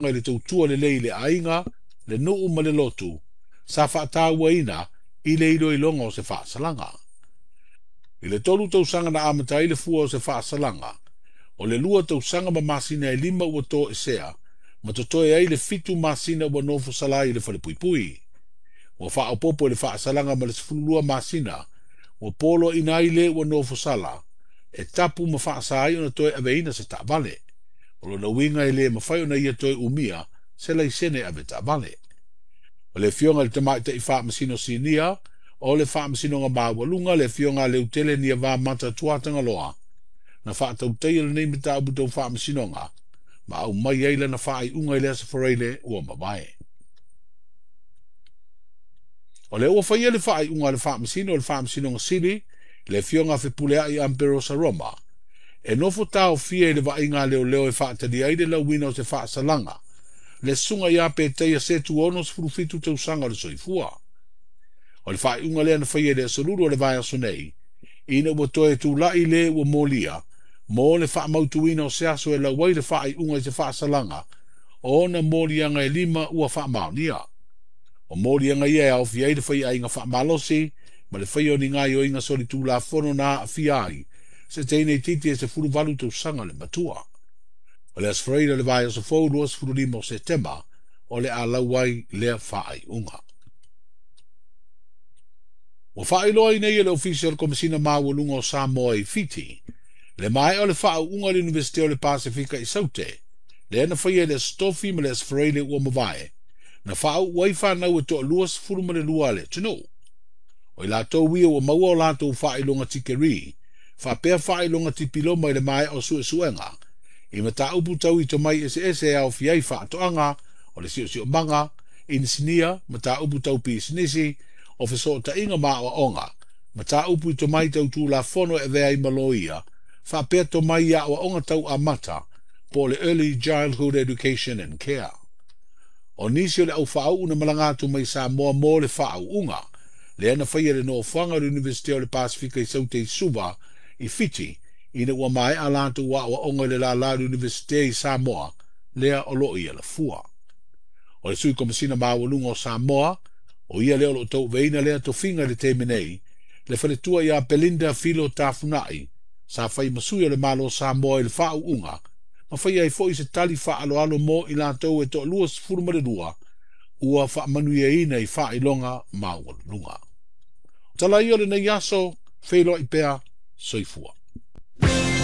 I le tautua lelei i le aiga, le nuu ma le lotu, sa faatauaina i le iloiloga o se faasalaga. I le 3 tausaga na amata ai le fua o se faasalaga, o le 2 tausaga ma masina e 5 ua toesea, ma totoe ai le 7 masina ua nofosala ai i le falepuipui. Ua faaopoopo i le faasalaga ma le 12 masina, ua poloaiina ai le ua nofosala, e tapu ma faasa ai ona toe aveina se taavale. O lona uiga e le mafai ona ia toe umia se laisene ave taavale. O le afioga i le Tamaitai Faamasino Sinia o le Faamasinoga Maualuga, le afioga a Leutele Niavamata Tuatagaloa, na faatautaia lenei mataupu tau faamasinoga ma aumai ai lana faaiuga i le Aso Faraile ua mavae. O lea ua faia le faaiuga a le Faamasino o le Faamasinoga Sili, le afioga a Fepuleai Amperosa Roma, e nofo taofia i le vaaiga a leoleo e faatalia ai le lauina o se faasalaga, le susuga ia Petaia Setu 67 tausaga o le soifua. O le faaiuga lea na faia i le aso Lulu o le vaiaso nei, ina ua toe tulai le ua molia mo le faamautuina o se aso e lau ai le faaiuga i se faasalaga o ona moliaga e 5 ua faamaonia. O moliaga ia e aofia ai le faiaiga faamalosi ma le faia o ni gaoioiga solitulafono na aafia ai se teine itiiti e 18 tausaga le matua. O le Aso Faraile o le vaiaso fou 25 o Setema o le a lau ai lea faaiuga. Ua faailoa ai nei e le Ofisa o le Komesina Maualuga o Samoa i Fiti le maea o le faauuga o le Iunivesite o le Pasefika i Saute, lea na faia i le Aso Tofi ma le Aso Faraile ua mavae, na faauu ai fanau e toa 22 a le atunuu. O i latou ia ua maua o latou faailoga tikeri, faapea faailoga tipiloma i le maea o suesuega, i mataupu tau i tomai eseese e aofia ai faatoaga, o le siosiomaga, inisinia, mataupu tau pisinisi, o fesootaiga ma aoaoga, mataupu i tomai tau tulafono e avea ai ma loia, faapea tomai i aoaoga tau amata, po o le Early Childhood Education and Care. O nisi o le au faauu na malaga atu mai Samoa mo le faauuga, lea na faia le nofoaga o le Iunivesite o le Pasefika i Saute i Suva, i Fiti, ina ua maea latou aoaoga i le lala o le Iunivesite i Samoa, lea o lo o i Alafua. O le Sui Komesina Maualuga o Samoa, o ia lea o lo o tauaveina lea tofiga i le taimi nei, le faletua ia Belinda Filo Tafunai, sa fai ma sui o le Malo Samoa i le faauuga, ma faia ai foi se tali faaaloalo mo i latou e toa 22 ua faamanuiaina i faailoga maualuluga. Tala ia o lenei aso, feiloai pea, soifua.